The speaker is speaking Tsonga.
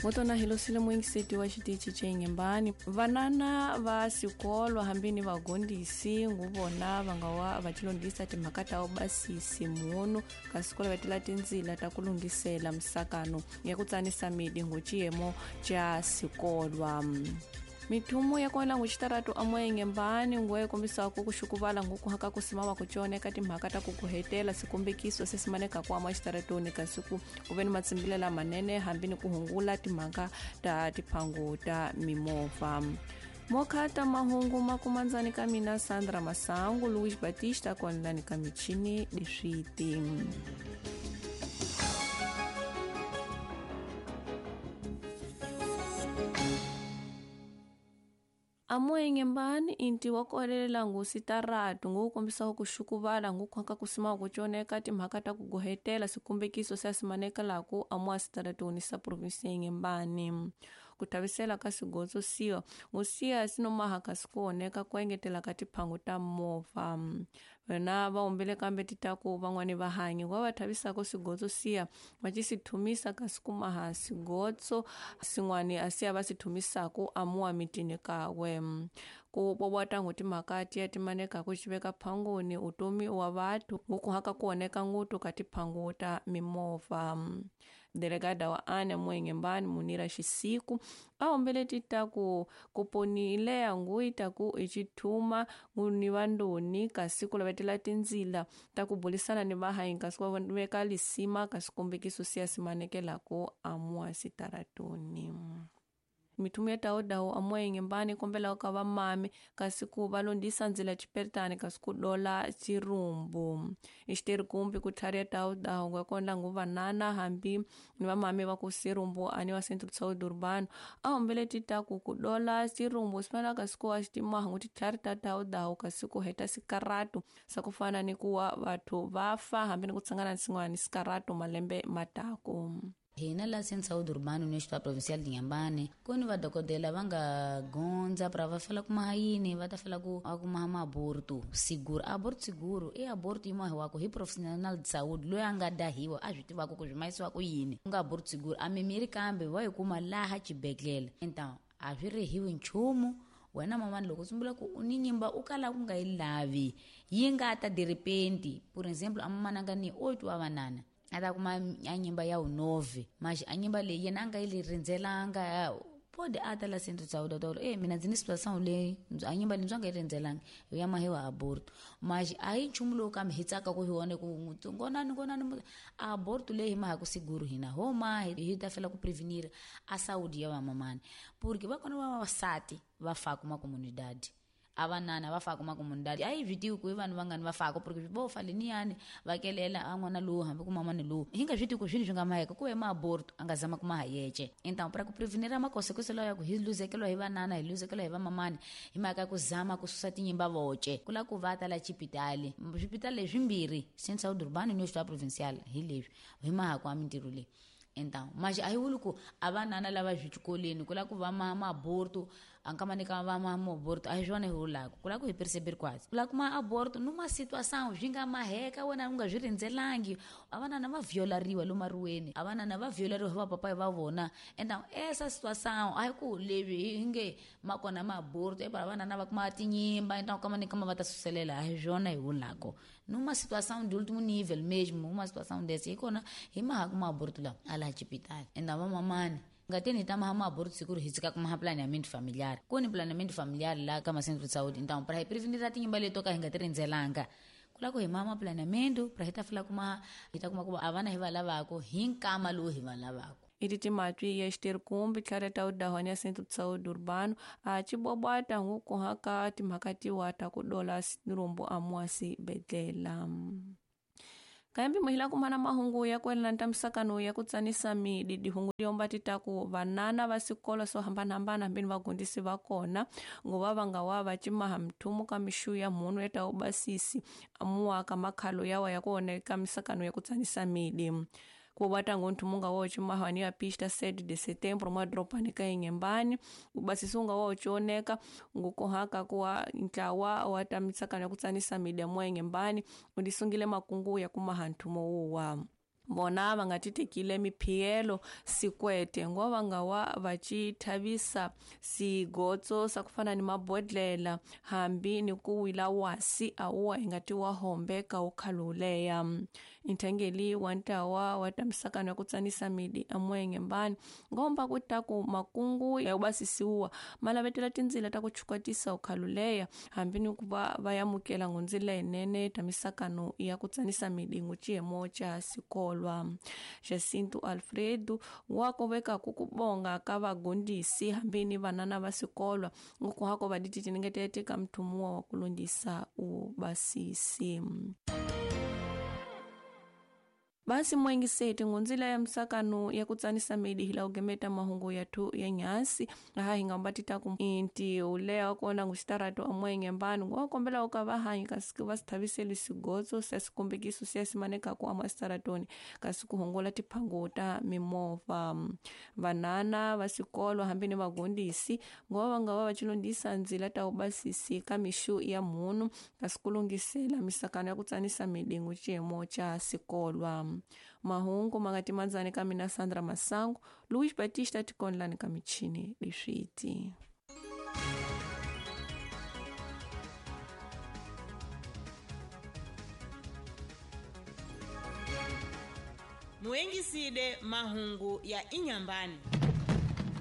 Motona hilosile muingiseti wa xitichi xa Inhembani vanana va sikolo hambi ni vagondisi nguvona va nga wa va tilondzisa timhaka ta ubasisi munu ka sikolo va tila tindzila ta ku lunghisela misakano ya ku tsanisa midi nguciyemo xa sikolwa. Mithumu ya kona nguxitaratu amoya Inhembani nguwe kombisaka ku xukuvala ngukuhaka ku simama ku coneka timhaka ta ku kuhetela sikombekiso sesimaneka ku ama xitaratuni kasi ku ku ve ni matsimbile lamanene hambi ni ku hungula timhaka ta tiphangu ta mimovha. Mokhata mahungu makumandzani ka mina Sandra Masangu, Luis Batista konlani ka michini leswiti. Amoya Inhembani inti wa kolelela ngusitaratu ngukombisa ku xukuvala ngukhwaka ku sima ku coneka timhaka ta ku gohetela sikombekiso sa simaneka laku amoya sitaratuni sa provinsi ya Inhembani. Ku tavisela ka sigotso siwa ngusiya sinomaha kasi ku oneka ku engetela ka tiphangu ta movha. Vona va humbile kambe titaku van'wani va hanyi wa va thavisaka sigotso siya va ci sithumisa kasi kumaha sigotso sin'wani a siya va sithumisaku amuwa mitini kawe. Ku bobota ngu timhaka tiya timaneka ku xiveka phanguni utomi wa vathu ngukuhaka ku oneka ngutu ka tiphangu ta mimovha. Delegada wa ane Inhembani Munira Xisiku a hombele titaku ku ponile nguita ku ixithuma ni vandoni kasi ku lavetela tindzila ta ku bulisana ni vahanyi kasi ku veka lisima kasi kombekiso siya simanekelaku amuwa sitaratuni. Mithumu ya tawudawu amoya Inhembani kombela ka vamami kasi ku va londzisa ndzila chipertani kasi ku dola chirumbu. Ixiteri kumbi ku tlhariya tawudawu nga kona nguvanana hambi ni vamami va ku sirumbu ani wa Centro de Saúde Urbano a hombele titaku ku dola chirumbu swi kasi ku wa xitimaha ngu titlhari ta tawudawu kasi ku heta sikaratu sa ku fana ni ku wa vathu va fa hambi ni ku tsangana ni sin'wana sikaratu malembe mataku. Hina la Centro de Saúde Urbano no Hospital Provincial de Inhambane, kuni vadokodela va nga gondza pra va fela kumaha yini, va ta fela ku kumaha maaborto seguro. Aborto seguro i aborto yi mahiwaka hi profissional de saúde loyi a nga dahiwa a swi tivaka ku swi mahisiwa ku yini. Ku nga aborto seguro a mimiri kambe va yi kuma laha xibedhlele. Então a swi rihiwi nchumu. Wena mamani loko u tsumbula ku u ni nyimba u kala ku nga yi lavi yi nga ta de repente, por exemplo a mamani a nga ni 8 wa vanana a ta kuma a nyimba ya 9 mas a nyimba leyi yena a nga yi rindzelanga pode a ta la Centro de Saúde ta mina ndzi ni situação leyi a nyimba leyi ndzi nga yi rindzelanga ya mahiwa aborto mas a yi nchumu lowu kambe hi tsaka ku hi wona ku ngonani ngonani aborto leyi hi maha ku seguro hina homa hi ta fela ku prevenir a saúde ya vamamani porque va kona va vavasati va fa kuma comunidade a vanana va fa kuma comunidade a yi swi tivi ku i vanhu vangani va faka porque vo fa leniyani va kelela a n'wana lowu hambi ku mamani lowu hi nga swi tivi ku swini swi nga maheka ku ve maaborto a nga zama ku maha yece. Então para ku prevenir makonsequência lawa ya ku hi luzekeliwa hi vanana hi luzekeliwa hi vamamani hi mhaka ya ku zama ku susa tinyimba voce ku la ku va ta la xipitali swipitali leswimbirhi Centro de Saúde Urbano ni Hospital Provincial hi leswi hi maha ku a mintirho leyi. Então mas a hi vuli ku a vanana lava swikolweni ku la ku va maaborto a nkamani ka va maaborto a hi swona hi vulaka ku la ku hi perceber quase ku la ku ma aborto numa situação swi nga maheka wena u nga swi rindzelangi a vanana va violariwa lomu mariweni a vanana va violariwa hi vapapa va vona. Então essa situação a hi ku leswi hi nge ma kona maaborto e vanana va kuma tinyimba então kamani kama va ta suselela a hi swona hi vulaka numa situação de último nível mesmo uma situação dessa hi kona hi maha ku maaborto lawa a laha xipitali. Enda vamamani nga teni ta maha maaborto seguro hi tshika ku maha planeamento familiar ku ni planeamento familiar la ka ma-centro de saúde então para hi prevenir tinyimba leto ka hi nga ti rindzelanga ku la ku hi maha planeamento para hi ta fela kuma hi ta kuma ku a vana hi va lavaka hi nkama lowu hi va lavaka. Iti timatwi ya xiteri kumbi tlhari tawudawu ya Centro de Saúde Urbano a cibobwata ngukuhaka timhaka tiwa ta ku dola sirumbu amuwa sibedlela. Kambi muhila kumana mahungu ya kwelana ta misakano ya ku tsanisa midi dihungu liomba titaku vanana va sikolo swo hambanahambana hambini vagondisi va kona nguva va nga wa va cimaha mthumu ka mixu ya mhunu ya ta ubasisi amuwa ka makhalo yawa ya ku oneka misakano ya ku tsanisa midi. Ku bata ngonthu munga wo cimaha ni ya pista 7 de setembro mwa dropani ka Inhembani ubasisi unga wo choneka ngukohaka kuwa ntlawa wa ta misakano ya ku tsanisa midi mwa Inhembani undisungile makungu ya kumaha nthumo wuwa. Vona va nga ti tekile miphiyelo sikwete ngo va nga wa va ci thavisa sigotso sa ku fana ni mabodlela hambi ni ku wila wasi awuwa hi nga ti wa hombe ka wu khaluleya. Nthangeli wa ntawa wa ta misakano ya ku tsanisa midi amuengembani ngomba ku ta ku makungu ya ku basisiwa ma lavetela tindzila ta ku chukwatisa u khaluleya hambi ni ku va va yamukela ngundzila yinene ta misakano ya ku tsanisa midi nguciyemo ca sikolwa. Jacinto Alfredo wa koveka ku kubonga ka vagondisi hambi ni vanana va sikolwa ngukuhako va dititiningetete ka mthumuwa wa ku lundisa u basisi. Basi mwengiseti ngunzila ya msakano ya kutsanisa midi hila ugemeta mahungu yathu ya nyasi aha hingambatita ku inti ulea kona ngusitarato amwenge mbanu ngokombela ukavahanyi kasi vasithaviseli sigotso sasikumbikiso siasimaneka ku amwasitaratoni kasi kuhongola tiphango ta mimovha. Vanana vasikolo hambi ni vagondisi ngova vangava vachilondisa ndzila ta ubasisi ka mixu ya mhunu kasi kulungisela misakano ya kutsanisa midi nguciyemo ca sikolwa. Mahungu mangatimandzani ka mina Sandra Masango, Luis Batista tikonlani ka michini leswiti. Muengiside mahungu ya Inyambani.